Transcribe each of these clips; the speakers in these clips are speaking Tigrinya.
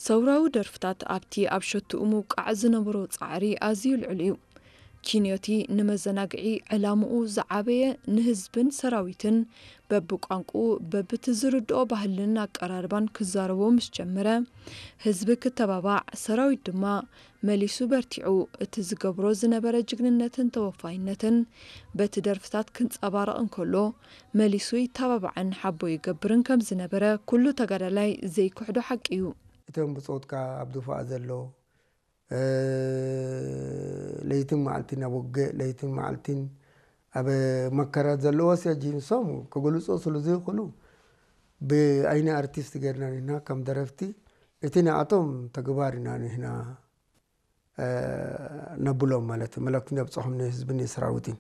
ሰውራዊ ደርፍታት ኣብቲ ኣብ ሸትኡ ምውቃዕ ዝነበሮ ጻዕሪ ኣዝዩ ልዑል እዩ። ኪንዮቲ ንመዘናግዒ ዕላምኡ ዝዓበየ ንህዝብን ሰራዊትን በብቋንቁኡ በብቲ ዝርድኦ ባህልን ኣቀራርባን ክዛረቦ ምስ ጀመረ፣ ህዝቢ ክተባባዕ፣ ሰራዊት ድማ መሊሱ በርቲዑ እቲ ዝገብሮ ዝነበረ ጅግንነትን ተወፋይነትን በቲ ደርፍታት ክንጸባረቕ እንከሎ፣ መሊሱ ይተባባዕን ሓቦ ይገብርን ከም ዝነበረ ኩሉ ተጋዳላይ ዘይክሕዶ ሓቂ እዩ። እቶም ብጾትካ ኣብ ድፋዕ ዘሎ ለይትን መዓልትን ኣብ ውግእ ለይትን መዓልትን ኣብ መከራ ዘለዎስ ሕጂ ንሶም ክገልጾ ስለ ዘይኽእሉ ብኣይኒ ኣርቲስት ገርና ንሕና ከም ደረፍቲ እቲ ንኣቶም ተግባር ኢና ንሕና ነብሎም ማለት እዩ። መልእክቲ ነብፅሖም ንህዝብን ንሰራዊትን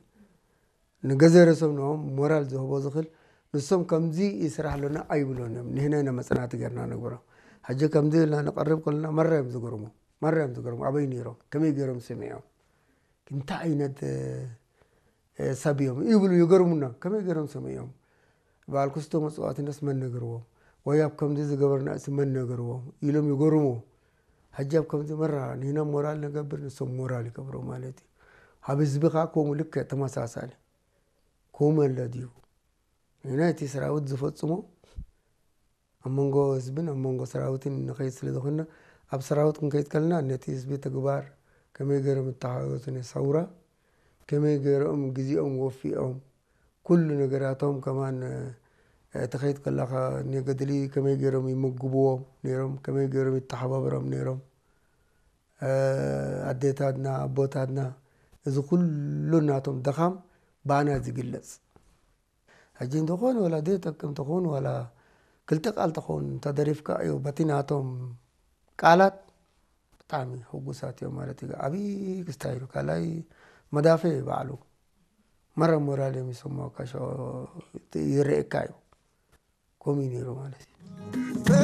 ንገዘ ርእሶም ንኦም ሞራል ዝህቦ ዝኽእል ንሶም ከምዚ ይስራሕ ኣሎና ኣይብሎን እዮም። ንሕና ኢና መፅናዕቲ ገርና ነግብሮም። ሕጂ ከምዚ ኢልና ንቐርብ ከለና መራ እዮም ዝገርሙ፣ መራ እዮም ዝገርሙ። ኣበይ ነይሮም? ከመይ ገይሮም ሰሚዖም? እንታይ ዓይነት ሰብ እዮም ይብሉ ይገርሙና። ከመይ ገይሮም ሰሚዖም? በዓል ክስቶ መፅዋዕትነስ መን ነግርዎም? ወይ ኣብ ከምዚ ዝገበርና እሲ መን ነግርዎም? ኢሎም ይገርሙ። ሕጂ ኣብ ከምዚ መራ ንሕና ሞራል ነገብር ንሶም ሞራል ይገብሩ ማለት እዩ። ኣብ ህዝቢ ከዓ ከምኡ ልክዕ ተመሳሳሊ ከምኡ ኣሎ ድዩ? ንሕና እቲ ሰራዊት ዝፈፅሞ ኣብ መንጎ ህዝብን ኣብ መንጎ ሰራዊትን ንኸይድ ስለ ዝኾንና ኣብ ሰራዊት ክንከይድ ከለና ነቲ ህዝቢ ተግባር ከመይ ገይሮም እተሓወቱ ንሰውራ ከመይ ገይሮም ግዜኦም ወፊኦም ኩሉ ነገራቶም ከማን ትኸይድ ከለኻ ንገድሊ ከመይ ገይሮም ይምግብዎም ነይሮም፣ ከመይ ገይሮም ይተሓባበሮም ነይሮም፣ ኣዴታትና ኣቦታትና እዚ ኩሉ ናቶም ደኻም ባና ዝግለጽ። ሕጂ እንተኾን ዋላ ዘይጠቅም ተኾን ዋላ ክልተ ቃል ተኾን ተደሪፍካ እዩ በቲ ናቶም ቃላት ብጣዕሚ ሕጉሳት እዮም ማለት እዩ። ዓብዪ ክስታይ እዩ። ካልኣይ መዳፈ እዩ ባዕሉ መረ ሞራል እዮም ይሰማካ ይረእካ እዩ። ከምኡ እዩ ነይሩ ማለት እዩ።